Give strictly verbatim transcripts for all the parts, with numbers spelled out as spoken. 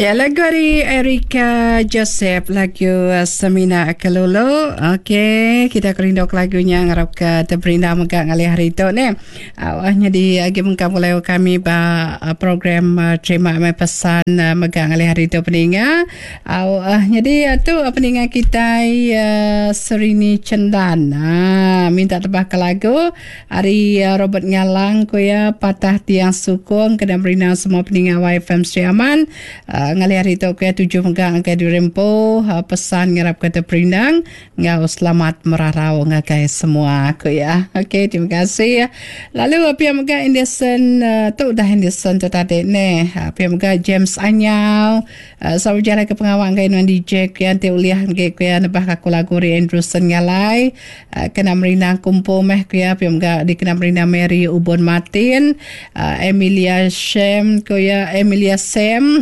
Ya, lagu ari Erica Joseph, lagu Semina Kelulu. Okey, kita kerindu ke lagu nya, ngarap ke teperindang mega ngalih hari tu neh. Awah nyadi agi mengkang pulai kami ba program terima mai pesan mega ngalih hari tu peninga. Awah nyadi tu peninga kitai Serini Chendan. Ha, minta tebah ke lagu ari Robert Ngalang ku iya, Patah Tiang Sukung kena merindang semua peninga Y F M Sri Aman. Uh, ngalih hari tu ke tujuh mega ngagai diri empu uh, pesan ngarap ke terperindang ngau selamat merarau ngagai semua aku ya. Okey, terima kasih. Lalu pia mega Anderson uh, tu dah Anderson tu tadi ne. Uh, pia mega James Anyau uh, sama berjalan ke pengawal ngagai nuan D J ku yang ti ulih ngagai ku ya nebah aku lagu Ri Anderson ngalai uh, kena merindang kumpul meh ku ya. Pia mega dikena merindang Mary Ubon Martin, uh, Emilia Shem ku ya, Emilia Sam.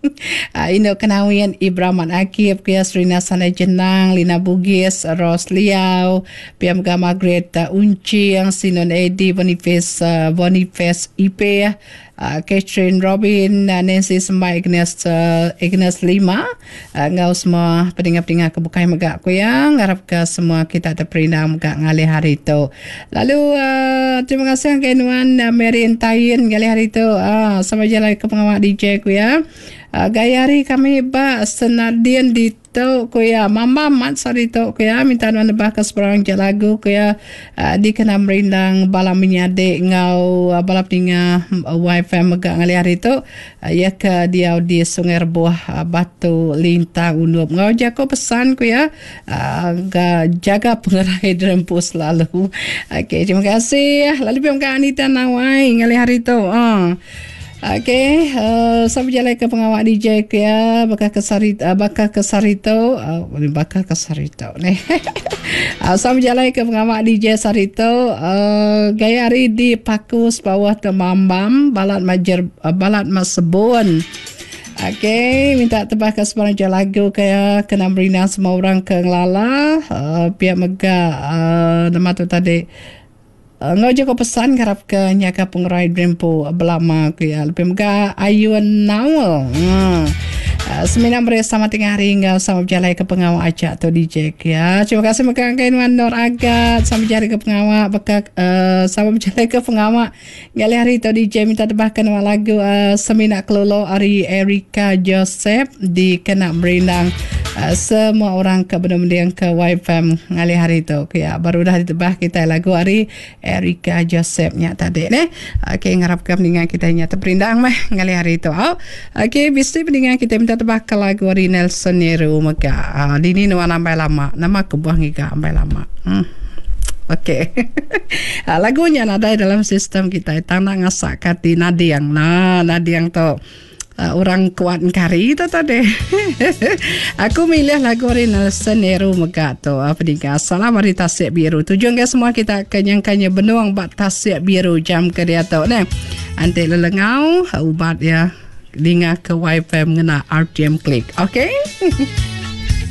Uh, Indo Kenawin, Ibrahim Akib, Kuya Serina Sanai Jenang, Lina Bugis, Ros Liau, Pia Mega Margaret uh, Unci, yang Sinon Edi, Boniface, uh, Boniface I P, uh, Catherine Robin, uh, Nancy Semai, Agnes, uh, Agnes Lima, uh, ngau semua peninga-peninga kebukai mega kuya, ngarap ke semua kita terperindang mega ngalih hari tu. Lalu uh, terima kasih ke nuan uh, Mary Entain ngalih hari tu, uh, sama jalan ke pengawal D J kuya. Uh, gaya hari kami ba Senadin di tu kuya, mama mat sari tu kuya, minta nuan nebah ke seberang je lagu kuya, uh, dikena merindang bala menyadek ngau uh, bala peninga uh, Y F M mega ngalih hari tu, uh, ya ke diau di Sungai Rebuh, uh, Batu Lintang Undup. Ngau jako pesan kuya, uh, jaga pengerai derempu selalu. Okey, terima kasih. Lalu pihak Anita Nawai ngalih hari tu. Uh. Okey, uh, sampai jalan ke pengawal D J ke ya, bakal ke sari, uh, bakal ke sarito, uh, bakal ke sarito ni. uh, sampai jalan ke pengawal D J sarito, uh, gaya hari di Pakus bawah Temambam, balat majer, uh, balat masebun. Okey, minta tebah ke sebarang je lagu kaya kena merindang semua orang ke ngelala, uh, pihak mega uh, nama tu tadi. Uh, ngau je ko pesan harap ke nyaka pengerai drempo belama ke ya. Lebih mega Ayun Naul. Hmm. Uh, semina beri sama tengah hari ngau sama berjalan ke pengawal acak tu D J ke ya. Terima kasih mega kain Wan Nur Agat sama berjalan ke pengawal beka uh, sama berjalan ke pengawal ngalih hari tu D J minta tebahkan lagu uh, Semina Kelolo ari Erika Joseph di kena merindang uh, semua orang ke benar-benar ke Y F M ngalih hari tu ke ya. Baru dah ditebah kita lagu ari Erika Joseph nya tadi ne. Okey, ngarapkan pendengar kita nya terperindang meh ngalih hari tu. Oh. Okey, bisi pendengar kita minta tebah ke lagu ari Nelson Nero mega. Uh, dini nuan ambai lama. Nama kebuah ngiga ambai lama. Hmm. Okey. Lagunya nadai dalam sistem kita. Tang nak ngasak kati nadiang. Nah, nadiang tu Uh, orang kuat kari tu tadi. Aku milih lagu ari Nelson Nero mega tu. Apa uh, Salam ari Tasik Biru. Tujuan ke semua kita kenyangkannya benuang bak Tasik Biru jam ke dia tu ne. Antik lelengau ubat ya. Dengar ke Y F M ngena R T M Klik. Okey.